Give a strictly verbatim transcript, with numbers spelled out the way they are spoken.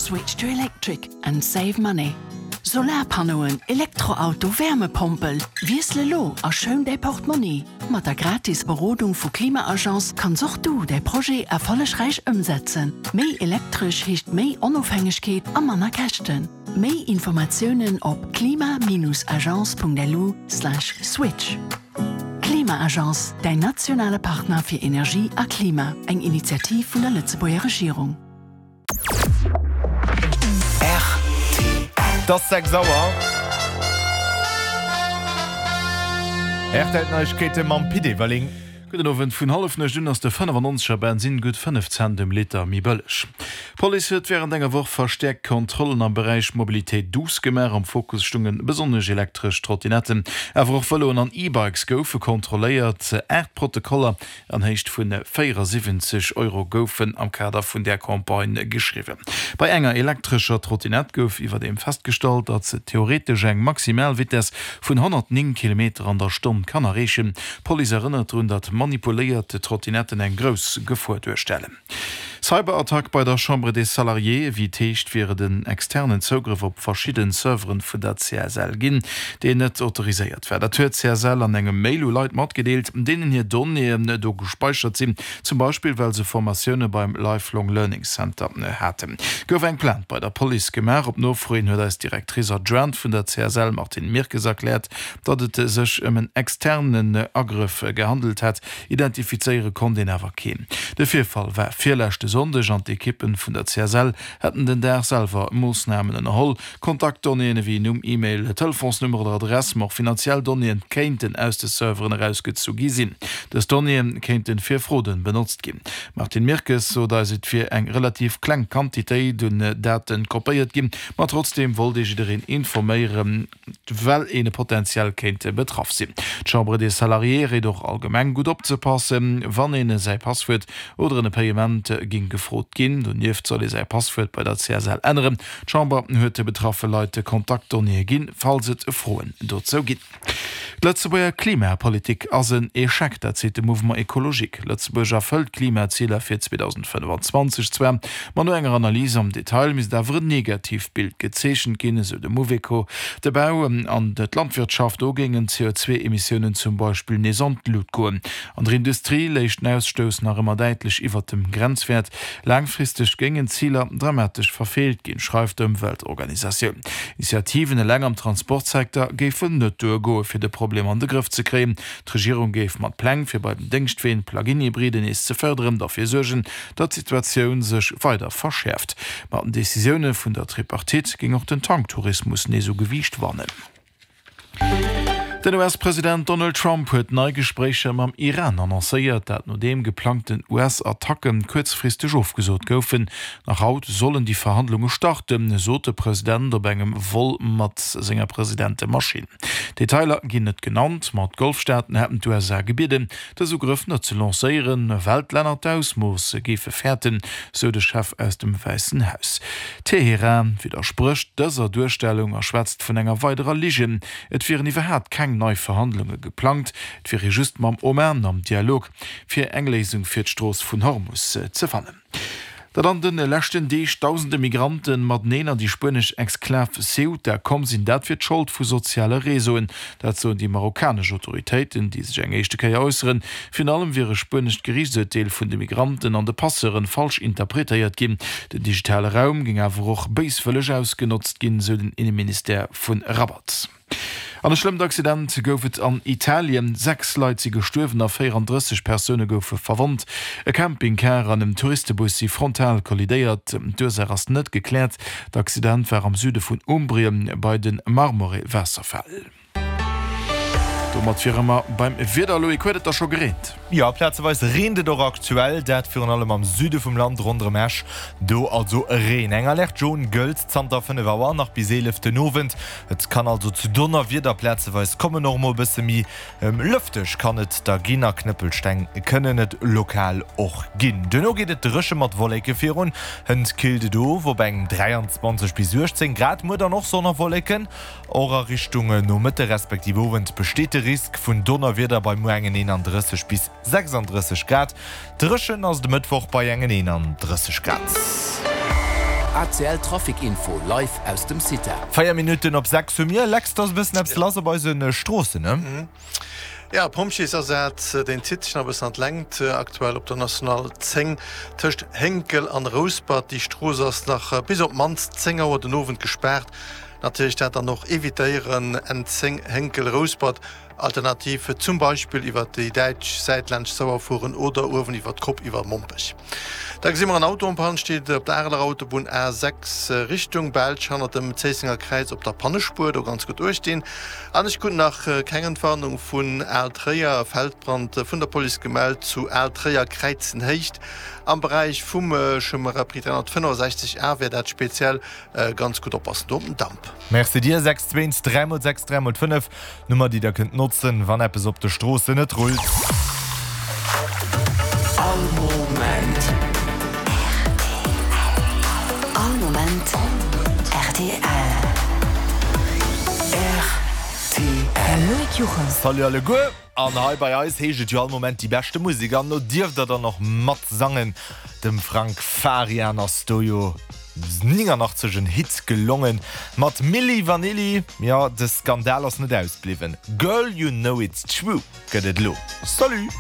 Switch to electric and save money. Solarpannoen, Elektroauto, Wärmepompel, Wiessel elo a schoun däi Portmonni. Mat der gratis Berodung vu Klima-Agence kanns och du däi Projet erfollegräich ëmsetzen. Méi Elektresch heescht méi Onofhängegkeet a manner Käschten. Méi Informatiounen op klima-agence.lu slash switch. Klima-Agence, däin nationale Partner fir Energie a Klima. Eng Initiativ vun der Lëtzebuerger Regierung. Et ass sechs Auer. R T L Neiegkeete mam Pit Everling. Gudden Owend. Vun Hallefnuecht un ass de fënnefannonzeger Bensinn gutt fënnef Cent um Liter méi bëlleg. D'Police huet wärend enger Woch verstäerkt Kontrollen am Beräich Mobilité douce gemaach. Am Fokus stounge besonnesch elektresch Trottinetten, awer och Vëloen an E-Bikes goufe kontrolléiert. Aacht Protokoller an Héicht vun véierasiwwenzeg Euro goufen am Kader vun där Campagne geschriwwen. Bei enger elektrescher Trottinett gouf iwwerdeem festgestallt, datt se theoretesch eng maximal Vitess vun honnertnéng Kilometer an der Stonn kann erreechen. D'Police erënnert drun, datt manipuléiert Trottinetten eng grouss Gefor duerstellen. Cyberattack bei der Chambre des Salariés, Wéi et heescht, wier et en externen Zougrëff op verschidde Serveren vun der C S L ginn, deen net autoriséiert war. Dat huet d'C S L an engem Mail u Leit matgedeelt, deenen hir Donnéeën do gespäichert sinn, zum Beispill well se Formatioune beim Lifelong Learning Center haten. Gouf eng Plainte bei der Police gemaach. Op Nofro hin huet eis d'Directrice adjointe vun der C S L, Martine Mirkes, erkläert, datt et sech ëm en externen Agrëff gehandelt hätt. Identifizéiere konnt een awer keen. De Virfall war virleschte Sonndeg an d'Ekippen vun der C S L hätten den Dag selwer Moossnamen ënnerholl. Kontaktdonnéeën ewéi Numm, E-Mail, Telefonsnummer oder Adress, ma och finanziell Donnéeën kéinten aus de Serveren erausgezu gi sinn. Dës Donnéeë kéinte fir Fraude benotzt ginn. D'Martine Mirkes sot eis, et wier eng relativ kleng Quantitéit un Daten kopéiert ginn, ma trotzdeem wollt ee jiddereen informéieren, well ee potentiell kéint betraff sinn. D'Chambre des Salariés réit och allgemeng gutt opzepassen, wann een säi Passwuert oder en Payement géing gefrot ginn. Donieft soll ee säi Passwuert bei der C S L änneren. D'Chamber huet de betraffe Leit Kontaktdonnéeë ginn, falls et Froen dozou ginn. D'Lëtzebuerger Klimapolitik ass en Echec, dat seet de Mouvement Ecologique. Lëtzebuerg erfëllt d'Klimaziler fir zweedausendfënnefanzwanzeg zwar, ma no enger Analys am Detail misst awer en negativt Bild gezeechent ginn, esou de Mouveco. De Bau an d'Landwirtschaft, do géingen d'C O zwee Emissiounen zum Beispill nees an d'Lut goen. An der Industrie léich den Ausstouss nach ëmmer däitlech iwwert dem Grenzwäert. Laangfristeg géingen d'Ziler dramatesch verfeelt ginn, schreift d'Ëmweltorganisatioun. Initiativen eleng am Transportsecteur géifen net duergoen, fir de Problem an de Grëff ze kréien. D'Regierung géif mat Pläng, fir bei den Déngschtween Plug-in-Hybriden nees ze fërderen, derfir suergen, datt d'Situatioun sech weider verschäerft. Mat den Decisioune vun der Tripartite géing och den Tanktourismus nees u Gewiicht wannen. Den U S-President Donald Trump huet nei Gespréicher mam Iran annoncéiert, dat nodeem geplangten U S-Attacke kuerzfristeg ofgesot goufen. Nach haut sollen déi Verhandlunge starten, sot de President op engem Vol mat senger Presidentemaschinn. Detailer ginn net genannt, ma d'Golfstaaten hätten d'U S A gebieden, dës Ugrëff net ze lancéieren, well d'Länner d'Ausmooss géife fäerten, sou de Chef aus dem Wäissen Haus. Teheran widdersprécht dëser Duerstellung a schwätzt vun enger weiderer Ligen. Et wieren iwwerhaapt keng nei Verhandlunge geplangt, et wier ee just mam Oman am Dialog, fir eng Léisung fir d'Strooss vun Hormus ze fannen. Datt an de leschten Deeg dausende Migrante mateneen an déi spuenesch Exklav Ceuta komm sinn, dat wier d'Schold vu soziale Reseauen. Dat soen déi marokkanesch Autoritéiten, déi sech eng éischte Kéier äusseren. Virun allem wier e spuenescht Geriichtsurteel vun de Migranten an de Passeuren falsch interpretéiert ginn. Den digitale Raum géing awer och béiswëlleg ausgenotzt ginn, sou den Inneministère vu Rabat. An e schlëmmt Accident gouf et an Italien. Sechs Leit si gestuerwen a véierandrësseg Persoune goufe verwonnt. E Campingcar an en Touristebus si frontal kollidéiert. D'Ursaach ass net gekläert. D'Accident war am Süde vun Umbrien bei de Marmore-Waasserfäll. Domat wiere mer beim Wieder. Loïc, huet et da scho gereent? Jo, plazeweis reent et och aktuell, dat virun allem am Süde vum Land ronderëm Esch. Do also Reen. Eng Alerte jaune gëllt zanter fënnef Auer nach bis eelef den Owend. Et kann also zu Donnerwieder plazeweis kommen, och mol e bësse méi lëfteg kann et da ginn a Knëppelsteng kënnen et lokal och ginn. Duerno geet et dréche mat Wolleke virun, hënt killt et of op eng dräianzwanzeg bis uechtzéng Grad. Muer dann och Sonn a Wolleken, och a Richtung Nomëtte respektiv Owend besteet de Risk vun Donnerwieder bei muer engen eenandrësseg bis sechsandrësseg Grad. Dréchen ass de Mëttwoch bei engen eenandrësseg Grad. A C L Trafic Info live aus dem Cita. Véier Minutten op sechs hu mir. Lex, et ass e bëssen eppes lass op eise Stroossen, ne? Jo, Pompjeesasaz, deen zitt sech nach e bëssen an d'Längt, aktuell op der National zéng tëscht Hénkel an Rouspert. Déi Strooss ass nach bis op d'mannst zéng Auer den Owend gespaart. Natierlech dat dann och evitéieren, N zéng Hénkel, Rouspert, alternativ zum Beispill iwwer déi däitsch Säit laanscht d'Sauer fueren oder uewen iwwer d'Kopp iwwer Mompech. Da gesi mer en Auto en panne steet op der Areler Autobunn A sechs Richtung Belsch hannert dem Zéissenger Kräiz op der Pannespuer, do ganz gutt uecht dinn. An ech krut nach keng Entwarnung vun Al-Tréier, e Feldbrand vun der Police gemellt zu Al-Tréier Kräizenhéicht am Beräich vum Chemin Repris dräihonnertfënnefasechzeg A wär dat speziell. Ganz gutt oppassen do op den Damp. Merci dir. Sechs zwee eins dräi mol sechs dräi mol fënnef, Nummer déi der kënnt notzen wann eppes op de Stroossen net rullt. All Moment R T L. All Moment R T L. R T L. Loïc Juchem. Salut alleguer! An hei bei eis heescht et jo all Moment déi beschte Musek an do dierft der dann och matsangen. Dem Frank Farian ass do jo néngannachtzeg en Hit gelongen mat Milli Vanilli. Jo, de Skandal ass net ausbliwwen. Girl You Know It's True gëtt et elo. Salut!